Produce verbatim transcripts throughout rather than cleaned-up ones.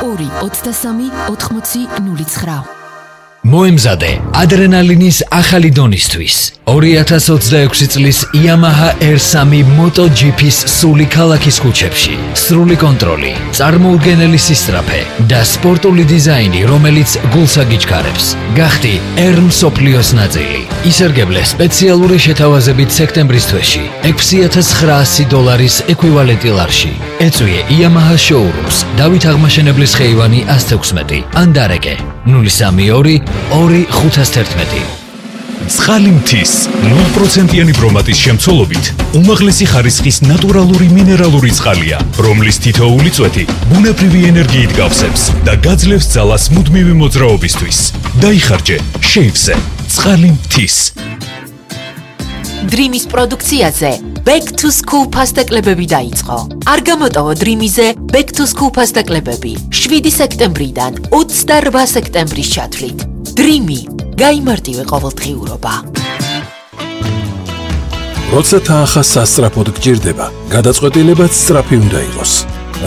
ორი ოცდასამი ოთხმოცი ნული ცხრა. მოემზადე ადრენალინის ახალი დონისთვის. ორი ათას ოცდაექვსი წლის Yamaha R three MotoGP-ს სული ქალაქის ქუჩებში. სრული კონტროლი, წარმოუდგენელი სისწრაფე და სპორტული დიზაინი, რომელიც გულს აგიჩქარებს. გახდი R მსოფლიოს ნაწილი. ისერგებლე სპეციალური შეთავაზებით სექტემბრის თვეში ექვსი ათას ცხრაასი დოლარის ეკვივალენტი ლარში. ეწვიე Yamaha showrooms, დავით აღმაშენებლის ხეივანი ას თექვსმეტი, ან დარეკე ნული სამი ორი ორი ხუთას თერთმეტი. წყალი მთის ნულ პროცენტიანი ბრომატის შემცველობით უმაღლესი ხარისხის ნატურალური მინერალური წყალია, რომლის თითოეული წვეთი ბუნებრივი ენერგიით გავსებს და გაძლევს ძალას მუდმივი მოძრაობისთვის. დაიხარჯე შეივზე წყალი მთის. დრიმის პროდუქციაზე Back to School ფასტაკლებები დაიწყო. არ გამოტოვო დრიმიზე Back to School ფასტაკლებები შვიდი სექტემბრიდან ოცდაორმა სექტემბრის ჩათვლით. დრიმი გაიმარტივე ყოველდღიურობა. როცა თანხა სასწრაფოდ გჭირდება, გადაწყვეტილებაც სწრაფი უნდა იყოს.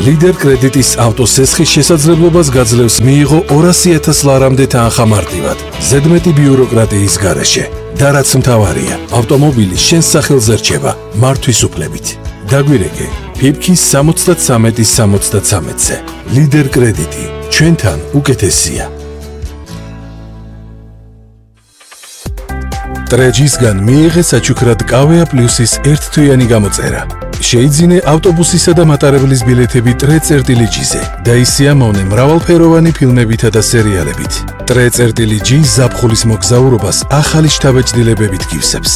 ლიდერ კრედიტის ავტოსესხის შესაძლებლობას გაძლევს მიიღო ორასი ათას ლარამდე თანხა მარტივად, ზედმეტი ბიუროკრატიის გარეშე. და რაც მთავარია, ავტომობილი შენს სახელზე რჩება მართვის უფლებით. დაგვირეკე ფიფქის სამოცდათსამეტი სამოცდათსამეტზე. ლიდერ კრედიტი ჩვენთან უკეთესია. ტრეჯისგან მიიღე საჩუქრად კავეა პლუსის ერთთვიანი გამოწერა. შეიძინე ავტობუსისა და მატარებლის ბილეთები ტრე წერტილი ჯიზე და ისიამოვნე მრავალფეროვანი ფილმებითა და სერიალებით. ტრე წერტილი ჯი ზაფხულის მოგზაურობას ახალი შთაბეჭდილებებით გივსებს.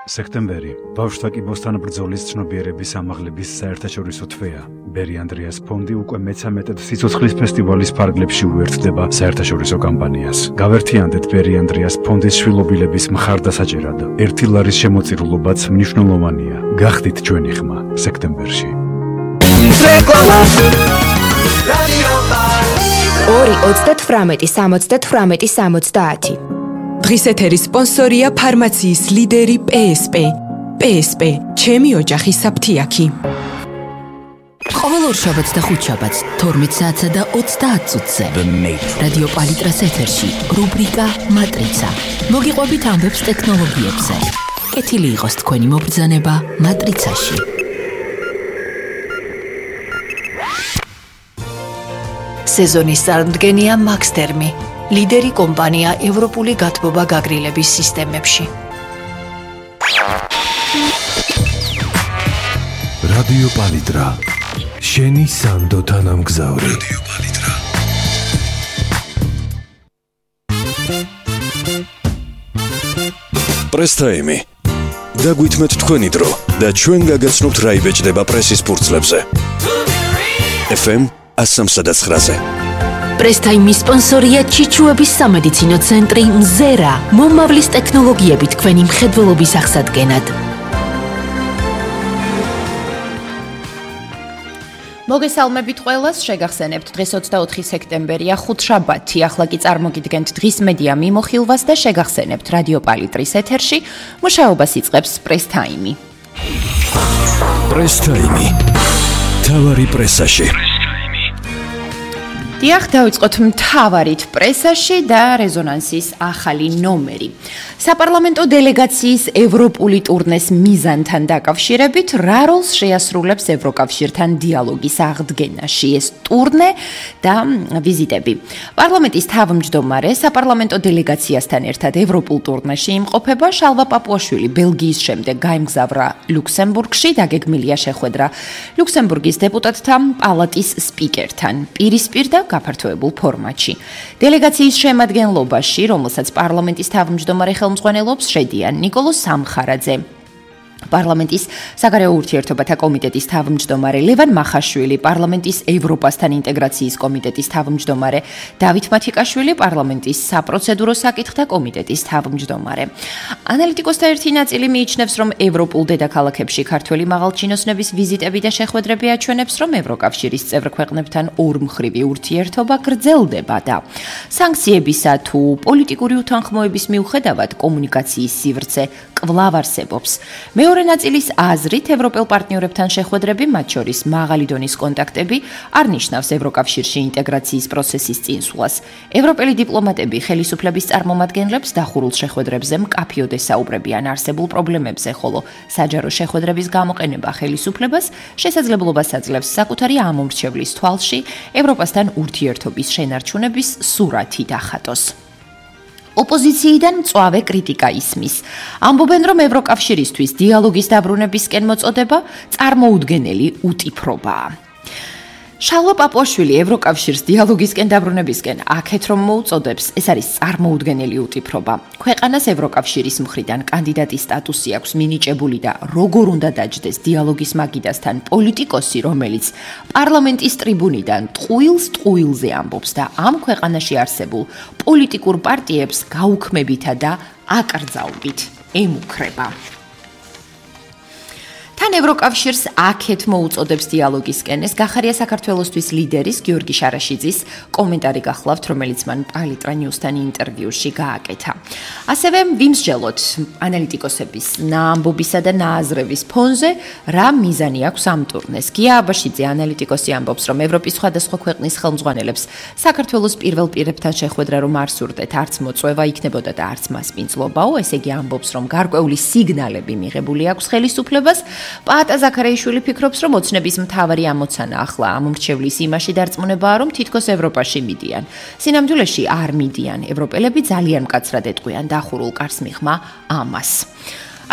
სექტემბერი ბავშვთა კიბოსთან ბრძოლის ცნობიერების ამაღლების საერთაშორისო თვეა. ბერი ანდრეას ფონდი უკვე მეცამეტედ სიცოცხლის ფესტივალის ფარგლებში უერთდება საერთაშორისო კამპანიას. გავერთიანდეთ ბერი ანდრეას ფონდის შვილობილების მხარდასაჭერად. ერთი ლარის შემოწირულობაც მნიშვნელოვანია. გახდით ჩვენი ხმა სექტემბერში. ორი ოცდათვრამეტი სამოცდათვრამეტი სამოცდაათი. დღის ეთერის სპონსორია ფარმაციის ლიდერი პე ეს პე. პე ეს პე, ჩემი ოჯახის საფთიაქი. ყოველ ორშაბათს და ხუთშაბათს თორმეტ საათსა და ოცდაათ წუთზე რადიო პალიტრას ეთერში რუბრიკა მატრიცა. მოგიყვებით ამბებს ტექნოლოგიებზე. კეთილი იყოს თქვენი მობრძანება მატრიცაში. სეზონის წარმდგენია მაქსთერმი, ლიდერი კომპანია ევროპული გათბობა გაგრილების სისტემებში. რადიო პალიტრა, შენი სანდო თანამგზავრი. რადიო პალიტრა. პრესტაიმი. დაგვითმეთ თქვენი დრო და ჩვენ გაგაცნობთ რა იბეჭდება პრესის ფურცლებზე. ეფ ემ ათს ცხრაზე. პრესტაიმის სპონსორია ჩიჩუების სამედიცინო ცენტრი მზერა, მომავლის ტექნოლოგიები თქვენი მხედველობის აღსადგენად. მოგესალმებით ყველას, შეგახსენებთ დღეს ოცდაოთხი სექტემბერია, ხუთშაბათი, ახლა კი წარმოგიდგენთ დღის მედია მიმოხილვას და შეგახსენებთ რადიო პალიტრის ეთერში მუშაობას იწყებს პრესტაიმი. პრესტაიმი. თავარი პრესაში. დიახ, დავიწყოთ მთავარით პრესაში და რეზონანსის ახალი ნომერი. საპარლამენტო დელეგაციის ევროპული ტურნეს მიზანთან დაკავშირებით რა როლს შეასრულებს ევროკავშირთან დიალოგის აღდგენაში ეს ტურნე და ვიზიტები. პარლამენტის თავმჯდომარე საპარლამენტო დელეგაციასთან ერთად ევროპულ ტურნეში იმყოფება. შალვა პაპუაშვილი ბელგიის შემდეგ გაემგზავრა ლუქსემბურგში, დაგეგმილია შეხვედრა ლუქსემბურგის დეპუტატთა პალატის სპიკერთან პირისპირ და გაფართოებულ ფორმატში. დელეგაციის შემადგენლობაში, რომელსაც პარლამენტის თავმჯდომარე ხელმძღვანელობს, შედიან ნიკოლოზ სამხარაძე, პარლამენტის საგარეო ურთიერთობათა კომიტეტის თავმჯდომარე ლევან მახაშვილი, პარლამენტის ევროპასთან ინტეგრაციის კომიტეტის თავმჯდომარე დავით მათიკაშვილი, პარლამენტის საპროცედურო საკითხთა კომიტეტის თავმჯდომარე. ანალიტიკოსთა ერთი ნაწილი მიიჩნევს, რომ ევროპულ დედაქალაქებში ქართველი მაღალჩინოსნების ვიზიტები და შეხვედრები აჩვენებს, რომ ევროკავშირის წევრ ქვეყნებთან ორმხრივი ურთიერთობა გრძელდება და სანქციებისა თუ პოლიტიკური უთანხმოების მიუხედავად კომუნიკაციის სივრცე კვლავ არსებობს. მეორე მეორე ნაწილის აზრით, ევროპელ პარტნიორებთან შეხვედრები, მათ შორის მაღალი დონის კონტაქტები, არ ნიშნავს ევროკავშირში ინტეგრაციის პროცესის წინსვლას. ევროპელი დიპლომატები ხელისუფლების წარმომადგენლებს დახურულ შეხვედრებზე მკაფიოდ ესაუბრებიან არსებულ პრობლემებზე, ხოლო საჯარო შეხვედრების გამოყენება ხელისუფლებას შესაძლებლობას აძლევს საკუთარი ამომრჩევლის თვალში ევროპასთან ურთიერთობის შენარჩუნების სურათი დახატოს. ოპოზიციიდან მწვავე კრიტიკა ისმის. ამბობენ, რომ ევროკავშირისთვის დიალოგის დაბრუნებისკენ მოწოდება წარმოუდგენელი უტიფრობაა. შალვა პაპუაშვილი ევროკავშირს დიალოგისკენ დაბრუნებისკენ აქეთ რომ მოუწოდებს, ეს არის წარმოუდგენელი უტიფრობა. ქვეყანას ევროკავშირის მხრიდან კანდიდატის სტატუსი აქვს მინიჭებული და როგორ უნდა დაჯდეს დიალოგის მაგიდასთან პოლიტიკოსი, რომელიც პარლამენტის ტრიბუნიდან ტყუილს ტყუილზე ამბობს და ამ ქვეყანაში არსებულ პოლიტიკურ პარტიებს გაუქმებითა და აკრძალვით ემუქრება. თან ევროკავშირს აქეთ მოუწოდებს დიალოგისკენ, ეს გახარია საქართველოსთვის ლიდერის გიორგი შარაშიძის კომენტარი გახლავთ, რომელიც მან პალიტრა ნიუსთან ინტერვიუში გააკეთა. ასევე ვიმსჯელოთ ანალიტიკოსების ნაამბობისა და ნააზრების ფონზე, რა მიზანი აქვს ამ ტურნეს. გია აბაშიძე ანალიტიკოსი ამბობს, რომ ევროპის სხვადასხვა ქვეყნის ხელმძღვანელებს საქართველოს პირველ პირებთან შეხვედრა რომ არ სურდეთ, არც მოწვევა იქნებოდა და არც მასპინძლობაო, ესე იგი ამბობს, რომ გარკვეული სიგნალები მიღებული აქვს ხელისუფლებას. პაატა ზაქარიაშვილი ფიქრობს, რომ ოცნების მთავარი ამოცანა ახლა ამომრჩევლის იმაში დარწმუნებაა, რომ თითქოს ევროპაში მიდიან. სინამდვილეში არ მიდიან. ევროპელები ძალიან მკაცრად ეტყვიან დახურულ კარს მიღმა ამას.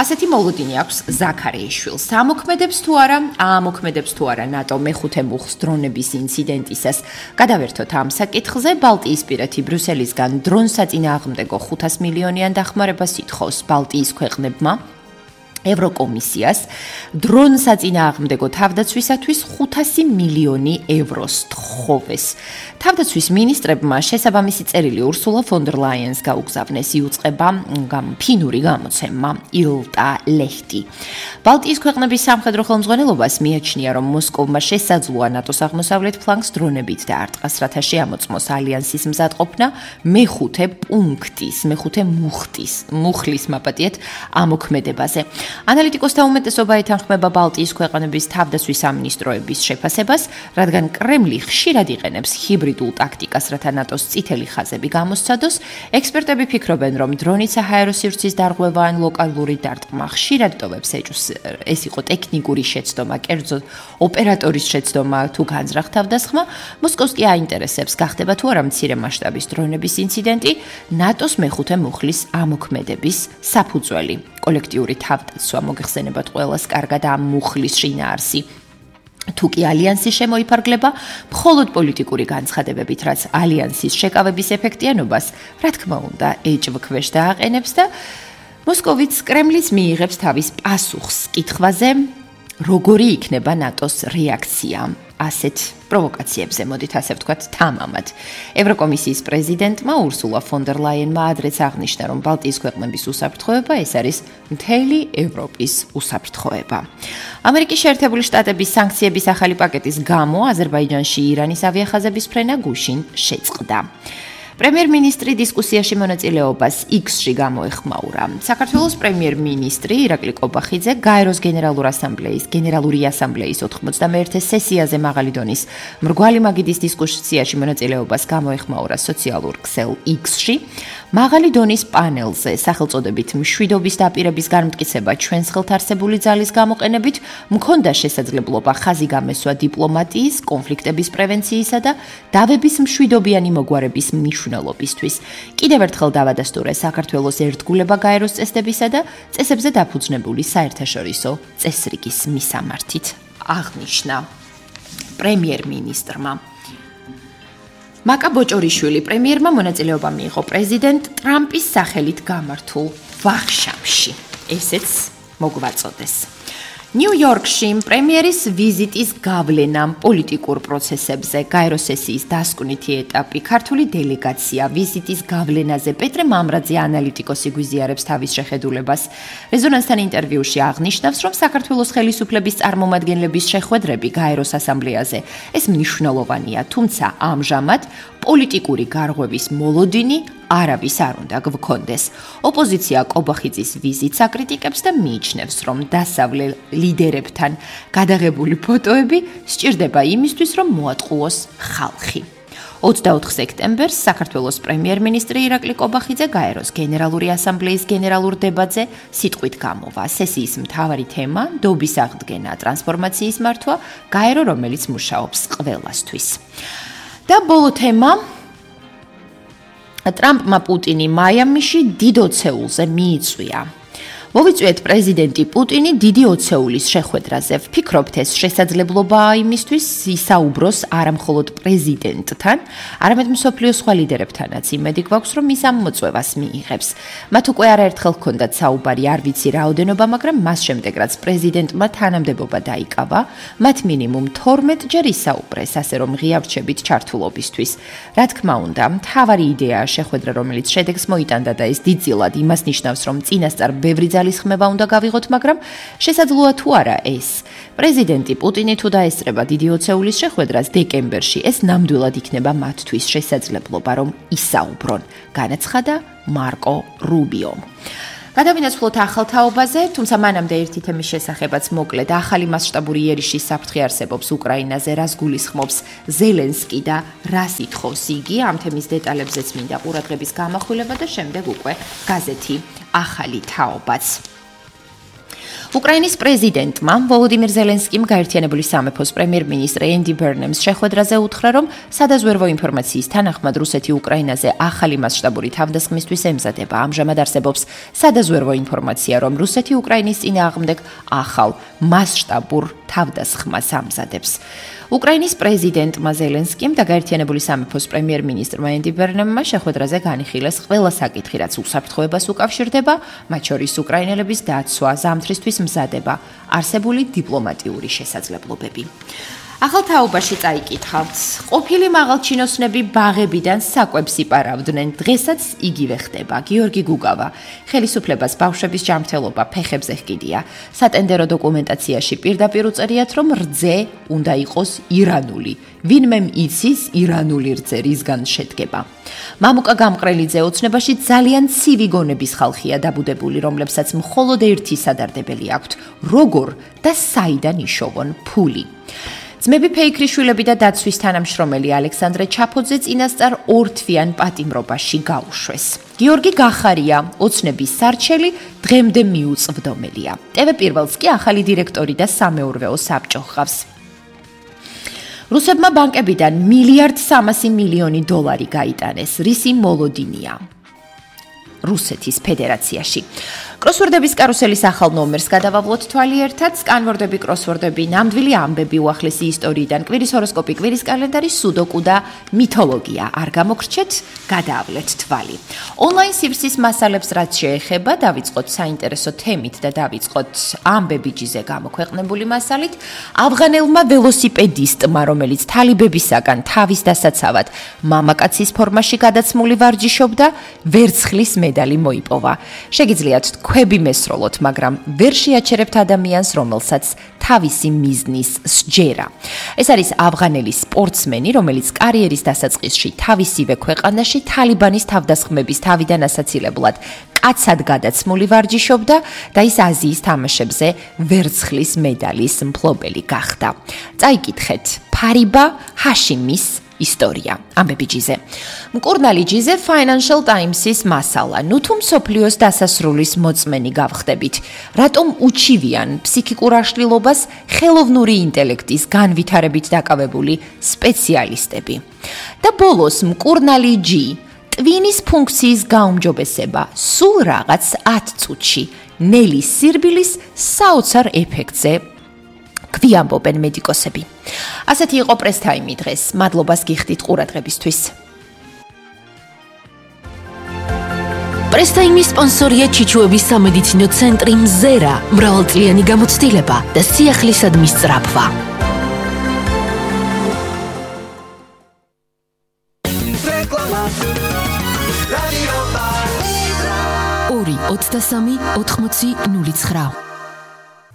ასეთი მოლოდინი აქვს ზაქარიაშვილს. ამოქმედებს თუ არა, ამოქმედებს თუ არა ნატო მეხუთე მუხლს დრონების ინციდენტისას. გადავერთოთ ამ საკითხზე. ბალტიისპირეთი ბრიუსელისგან დრონს საწინააღმდეგო ხუთას მილიონიან დახმარებას ითხოვს ბალტიის ქვეყნებმა. ევროკომისიას დრონ საწინააღმდეგო თავდაცვისათვის ხუთასი მილიონი ევროს თხოვეს. თავდაცვის მინისტრებმა შესაბამისი წერილი ურსულა ფონ დერ ლაიენს გაუგზავნეს, იუწყება ფინური გამოცემა ილტა ლეხტი. ბალტიის ქვეყნების სამხედრო ხელმძღვანელობას მიაჩნია, რომ მოსკოვმა შესაძლოა ნატოს აღმოსავლეთ ფლანგს დრონებით და არტყასრათა შეამოწმოს ალიანსის მზადყოფნა მეხუთე პუნქტის, მეხუთე მუხტის, მუხლის მაპატიეთ ამოქმედებაზე. ანალიტიკოსთა უმეტესობა ეთანხმება ბალტიის ქვეყნების თავდაცვის სამინისტროების შეფასებას, რადგან კრემლი ხშირად იყენებს ჰიბრიდულ ტაქტიკას, რათა ნატოს წითელი ხაზები გამოსცადოს. ექსპერტები ფიქრობენ, რომ დრონით საჰაერო სივრცის დარღვევა ან ლოკალური დარტყმა ხშირად ტოვებს ეჭვს. ეს იყო ტექნიკური შეცდომა, კერძოდ ოპერატორის შეცდომა თუ განზრახ თავდასხმა. მოსკოვს კი აინტერესებს, გახდება თუ არა მცირე მასშტაბის დრონების ინციდენტი ნატოს მეხუთე მუხლის ამოქმედების საფუძველი. კოლექტიური თავდაცვა მოგეხსენებათ ყველას კარგად ამ მუხლის შინაარსი. თუ კი ალიანსის შემოიფარგლება, მხოლოდ პოლიტიკური განცხადებებით, რაც ალიანსის შეკავების ეფექტიანობას, რა თქმა უნდა, ეჭვქვეშ დააყენებს და მოსკოვიც კრემლის მიიღებს თავის პასუხს კითხვაზე, როგორი იქნება ნატოს რეაქცია ასეთ პროვოკაციებზე, მოდით ასე ვთქვათ, თამამად. ევროკომისიის პრეზიდენტმა ურსულა ფონ დერ ლაიენმა ადრეც აღნიშნა, რომ ბალტიის ქვეყნების უსაფრთხოება ეს არის მთელი ევროპის უსაფრთხოება. ამერიკის შეერთებული შტატების სანქციების ახალი პაკეტის გამო აზერბაიჯანში ირანის ავიახაზების ფრენა გუშინ შეწყდა. პრემიერ-მინისტრი დისკუსიაში მონაწილეობას X-ში გამოეხმაურა. საქართველოს პრემიერ-მინისტრი ირაკლი კობახიძე გაეროს გენერალურ ასამბლეის გენერალური ასამბლეის ოთხმოცდამეერთე სესიაზე მაღალი დონის მრგვალი მაგიდის დისკუსიაში მონაწილეობას გამოეხმაურა სოციალურ ქსელ X-ში. მაღალი დონის პანელზე სახელწოდებით მშვიდობის დაპირების განმტკიცება ჩვენს ხელთ არსებული ძალის გამოყენებით მქონდა შესაძლებლობა ხაზი გამესვა დიპლომატიის, კონფლიქტების პრევენციისა და დავების მშვიდობიანი მოგვარების მნიშვნელობისთვის. კიდევ ერთხელ დავადასტურე საქართველოს ერთგულება გაეროს წესდებისა და წესებზე დაფუძნებული საერთაშორისო წესრიგის მისამართით, აღნიშნა პრემიერ-მინისტრმა. მაკა ბოჭორიშვილი პრემიერმა მონაწილეობა მიიღო პრეზიდენტ ტრამპის სახელით გამართულ ვახშამში. ესეც მოგვაწოდეს. ნიუ-იორკში პრემიერის ვიზიტის გავლენა პოლიტიკურ პროცესებზე, გაეროს სესიის დასკვნითი ეტაპი, ქართული დელეგაცია ვიზიტის გავლენაზე პეტრე მამრაძე ანალიტიკოსი გვიზიარებს თავის შეხედულებას. რეზონანსთან ინტერვიუში აღნიშნავს, რომ საქართველოს ხელისუფლების წარმომადგენლების შეხვედრები გაეროს ასამბლეაზე ეს მნიშვნელოვანია, თუმცა ამჟამად პოლიტიკური გარღვევის მოლოდინი არავის არ უნდა გვქონდეს. ოპოზიცია კობახიძის ვიზიტს აკრიტიკებს და მიიჩნევს, რომ დასავლელ ლიდერებთან გადაღებული ფოტოები სჭირდება იმისთვის, რომ მოატყუოს ხალხი. ოცდაოთხ სექტემბერს საქართველოს პრემიერ-მინისტრი ირაკლი კობახიძე გაეროს გენერალური ასამბლეის გენერალურ დებატზე სიტყვით გამოვა. სესიის მთავარი თემა დობის აღდგენა, ტრანსფორმაციის მართვა, გაერო, რომელიც მუშაობს ყველასთვის. და ბოლო თემა ტრამპმა პუტინი მაიამიში დიდ ოცეულზე მიიწვია. მოვიწვიეთ პრეზიდენტი პუტინი დიდი ოცეულის შეხვედრაზე. ვფიქრობთ, ეს შესაძლებლობაა იმისთვის ისაუბროს არა მხოლოდ პრეზიდენტთან, არამედ მსოფლიოს სხვა ლიდერებთანაც. იმედი გვაქვს, რომ ის ამ მოწვევას მიიღებს. მათ უკვე არაერთხელ ჰქონდათ საუბარი, არ ვიცი რაოდენობა, მაგრამ მას შემდეგ, რაც პრეზიდენტმა თანამდებობა დაიკავა, მათ მინიმუმ თორმეტჯერ ისაუბრეს, ასე რომ ღია რჩებით ჩართულობისთვის. რა თქმა უნდა, მთავარი იდეაა შეხვედრა, რომელიც შედეგს მოიტანდა და ეს დიდწილად იმას ნიშნავს, რომ წინასწარ ბევრი ძალის ხმება უნდა გავიღოთ, მაგრამ შესაძლოა თუ არა ეს. პრეზიდენტი პუტინი თუ დაესწრება დიდი ოცეულის შეხვედრას დეკემბერში, ეს ნამდვილად იქნება მათთვის შესაძლებლობა, რომ ისაუბრონ, განაცხადა მარკო რუბიომ. გადავინაცვლოთ ახალ თაობაზე, თუმცა მანამდე ერთი თემის შესახებაც მოკლედ. ახალი მასშტაბური იერიშის საფრთხე არსებობს უკრაინაზე, რას გულისხმობს ზელენსკი და რას ითხოვს იგი. ამ თემის დეტალებზეც მინდა ყურადღების გამახვილება და შემდეგ უკვე გაზეთი ახალი თაობაც. უკრაინის პრეზიდენტმა ვოლოდიმირ ზელენსკიმ გაერთიანებული სამეფოს პრემიერ-მინისტრ ენდი ბერნემს შეხვედრაზე უთხრა, რომ სადაზვერვო ინფორმაციის თანახმად რუსეთი უკრაინაზე ახალი მასშტაბური თავდასხმისთვის ემზადება. ამჟამად არსებობს სადაზვერვო ინფორმაცია, რომ რუსეთი უკრაინის წინააღმდეგ ახალ მასშტაბურ თავდასხმას ამზადებს. უკრაინის პრეზიდენტმა ზელენსკიმ და გაერთიანებული სამეფოს პრემიერ-მინისტრმა ენდი ბერნემმა შეხვედრაზე განიხილეს ყველა საკითხი, რაც უსაფრთხოებას უკავშირდება, მათ შორის უკრაინელების დაცვა, ზამთრისთვის მზადება, არსებული დიპლომატიური შესაძლებლობები. ახალ თაობაში წაიკითხავთ. ყოფილი მაღალჩინოსნები ბაღებიდან საკვებს იპარავდნენ, დღესაც იგივე ხდება. გიორგი გუგავა, ხელისუფლებას ბავშვების ჯანმრთელობა ფეხებზე ჰკიდია. სატენდერო დოკუმენტაციაში პირდაპირ უწერიათ, რომ რძე უნდა იყოს ირანული. ვინმემ იცის ირანული რძე რისგან შედგება. მამუკა გამყრელიძე ოცნებაში ძალიან ცივი გონების ხალხია დაბუდებული, რომლებსაც მხოლოდ ერთი სადარდებელი აქვთ: როგორ და საიდან იშოვონ ფული. ძმები ფეიქრიშვილები და დაცვის თანამშრომელი ალექსანდრე ჩაფოძე წინასწარ ორთვიან პატიმრობაში გაუშვეს. გიორგი გახარია, ოცნების სარჩელი, დღემდე მიუწვდომელია. ტევ პირველს კი ახალი დირექტორი და სამეურვეო საბჭო ჰყავს. რუსებმა ბანკებიდან მილიარდ სამასი მილიონი დოლარი გაიტანეს. რისი მოლოდინია რუსეთის ფედერაციაში. კროსვორდების კარუსელის ახალ ნომერს გადავავლოთ თვალი ერთად. სკანვორდები, კროსვორდები, ნამდვილი ამბები, უახლესი ისტორიიდან, კვირის ჰოროსკოპი, კვირის კალენდარი, სუდოკუ და მითოლოგია. არ გამოგრჩეთ, გადაავლეთ თვალი. ონლაინ სივრცის მასალებს რაც შეეხება, დავიწყოთ საინტერესო თემით და დავიწყოთ ამბებიჯიზე გამოქვეყნებული მასალით. ავღანელმა ველოსიპედისტმა, რომელიც თალიბებისაგან თავის დასაცავად მამაკაცის ფორმაში გადაცმული ვარჯიშობდა, ვერცხლის მედალი მოიპოვა. შეგიძლიათ ქვები მესროლოთ, მაგრამ ვერ შეაჩერებთ ადამიანს, რომელსაც თავისი მიზნის სჯერა. ეს არის ავღანელი სპორტსმენი, რომელიც კარიერის დასაწყისში თავისივე ქვეყანაში თალიბანის თავდასხმების თავიდან ასაცილებლად კაცად გადაცმული ვარჯიშობდა და ის აზიის თამაშებზე ვერცხლის მედალის მფლობელი გახდა. წაიკითხეთ ფარიბა ჰაშიმის ისტორია. ამბებიჯიზე. მკურნალი ჯიზე Financial Times-ის მასალა. ნუ თუ მსოფლიოს დასასრულის მოწმენი გავხდებით, რატომ უჩივიან ფსიქიკურ აშლილობას ხელოვნური ინტელექტის განვითარებით დაკავებული სპეციალისტები. და ბოლოს მკურნალი ჯი, ტვინის ფუნქციის გაუმჯობესება, სულ რაღაც ათ წუთში, ნელის სირბილის საოცარ ეფექტზე გვიამბობენ მედიკოსები. ასეთი იყო პრესტაიმი დღეს. მადლობას გიხდით ყურადღებისთვის. პრესტაიმის სპონსორია ჩიჩუების სამედიცინო ცენტრი მზერა, მრავალწლიანი გამოცდილება და სიახლისადმი სწრაფვა. ორი ოცდასამი ოთხმოცი ნული ცხრა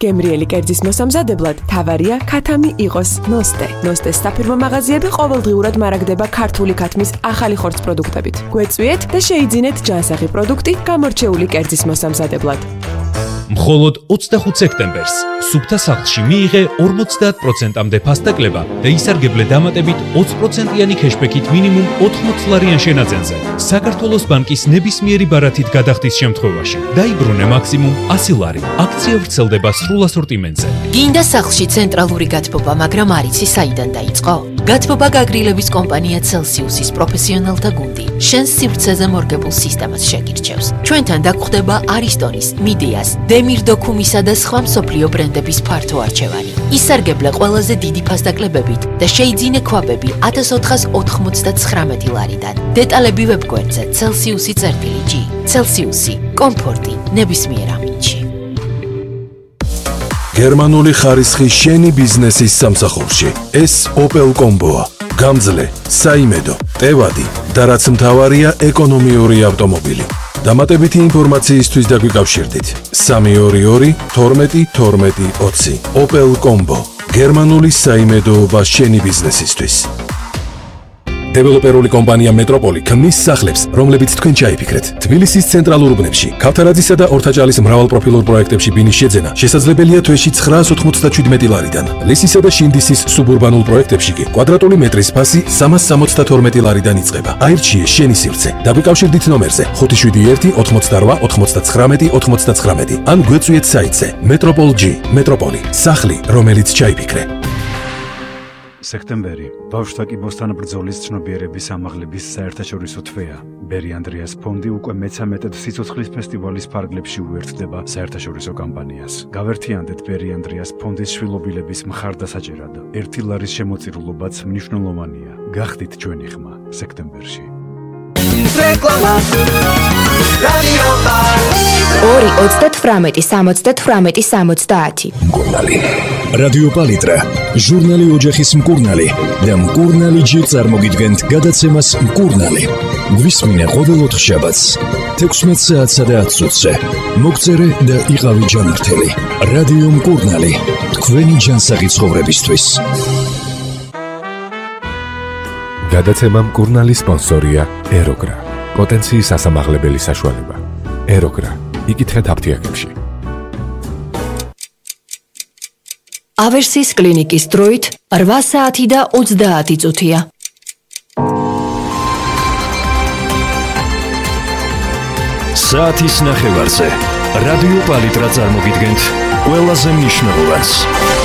გემრიელი კერძის მოსამზადებლად თავარია ქათამი იყოს ნოსტე. ნოსტეს საფირმო მაღაზიები ყოველდღიურად მარაგდება ქართული ქათმის ახალი ხორცს პროდუქტებით. გვეწვიეთ და შეიძინეთ ჯანსაღი პროდუქტი გამორჩეული კერძის მოსამზადებლად. მხოლოდ ოცდახუთ სექტემბერს სუფთა სახლში მიიღე ორმოცდაათ პროცენტამდე ფასტაკლება და ისარგებლე დამატებით ოცი პროცენტიანი ქეშბექით მინიმუმ ოთხმოცი ლარიან შენაძენზე. საქართველოს ბანკის ნებისმიერი ბარათით გადახდის შემთხვევაში დაიბრუნე მაქსიმუმ ასი ლარი. აქცია ვრცელდება სრულ ასორტიმენტზე. გინდა სახლში ცენტრალური გათბობა, მაგრამ არ იცი საიდან დაიწყო? გათბობა გაგრილების კომპანია Celsius-ის პროფესიონალთა გუნდი შენს სივრცეზე მორგებულ სისტემას შეგირჩევს. ჩვენთან დაგხვდება არისტონის, მიდიას, დემირდოქუმისა და სხვა მსოფლიო ბრენდების ფართო არჩევანი. ისარგებლე ყველაზე დიდი ფასდაკლებებით და შეიძინე ქვაბები ათას ოთხას ოთხმოცდათხრამეტი ლარიდან. დეტალები ვებგვერდზე Celsius-ი წერტილი G. Celsius-ი, კომფორტი ნებისმიერ ამინდში. გერმანული ხარისხი შენი ბიზნესის სამსახურში. ეს Opel Combo-ა. გამძლე, საიმედო, ტევადი და რაც მთავარია ეკონომიური ავტომობილი. დამატებითი ინფორმაციისთვის დაგვიკავშირდით. სამი ორი ორი თორმეტი თორმეტი ოცი. Opel Combo. გერმანული საიმედოობა შენი ბიზნესისთვის. დეველოპერული კომპანია მეტროპოლი ქმნის სახლებს, რომლებიც თქვენ ჩაიფიქრეთ. თბილისის ცენტრალურ უბნებში, ქავთარაძისა და ორთაჭალის მრავალპროფილურ პროექტებში ბინის შეძენა შესაძლებელია თვეში ცხრაას ოთხმოცდაშვიდმეტი ლარიდან. ლისისა და შინდისის სუბურბანულ პროექტებში კი კვადრატული მეტრის ფასი სამას სამოცდათორმეტი ლარიდან იწყება. აირჩიე შენი სივრცე. დაგვიკავშირდით ნომერზე ხუთი შვიდი ერთი ოცდაოთხი ოცდაცხრამეტი ოცდაცხრამეტი ან გვეწვიეთ საიტზე Metropol G. მეტროპოლი. სახლი, რომელიც ჩაიფიქრე. სექტემბერი ბავშვთა კიბოსთან ბრძოლის ცნობიერების ამაღლების საერთაშორისო თვეა. ბერი ანდრეას ფონდი უკვე მეცამეტედ სიცოცხლის ფესტივალის ფარგლებში უერთდება საერთაშორისო კამპანიას. გავერთიანდეთ ბერი ანდრეას ფონდის შვილობილების მხარდასაჭერად. ერთი ლარის შემოწირულობაც მნიშვნელოვანია. გახდით ჩვენი ხმა სექტემბერში. რეკლამა რადიო ორი ოცდათვრამეტი სამოცდათვრამეტი სამოცდაათი. მკურნალი რადიო პალიტრა ჟურნალი ოჯახის მკურნალი და მკურნალი ჯი წარმოგიდგენთ გადაცემას მკურნალი. გვისმინე ყოველ ოთხშაბათს თექვსმეტ საათსა და ათ წუთზე. მოგწერე და იყავი ჯანმრთელი. რადიო მკურნალი თქვენი ჯანსაღი ცხოვრებისთვის. გადაცემა მკურნალი სპონსორია ეროგრა. პოტენციის ასამაღლებელი საშუალება. ეროგრა. იკითხეთ აფთიაქებში. ავერსის კლინიკის დროით რვა საათი და ოცდაათი წუთია. საათის ნახევარზე რადიო პალიტრა წარმოგიდგენთ ყველაზე მნიშვნელოვანს.